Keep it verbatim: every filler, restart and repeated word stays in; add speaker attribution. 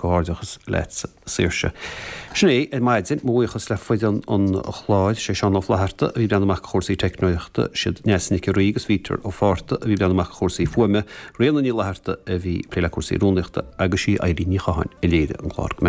Speaker 1: Comhghairdeachas leat Saoirse. Sin é ar maidin mo bhuíochas le foireann an chláir sé Seán Ó Flatharta a bhí ag breathnú amach chúrsaí teicneolaíochta siad Neasa Nic Rí agus Vítear Ó Fátharta a bhí ag breathnú amach chúrsaí fuaime, Ríona Ní Fhlatharta a bhí ag plé le cúrsaí rúnaíochta agus sí Eilín Ní Chatháin a léirigh an clár. Go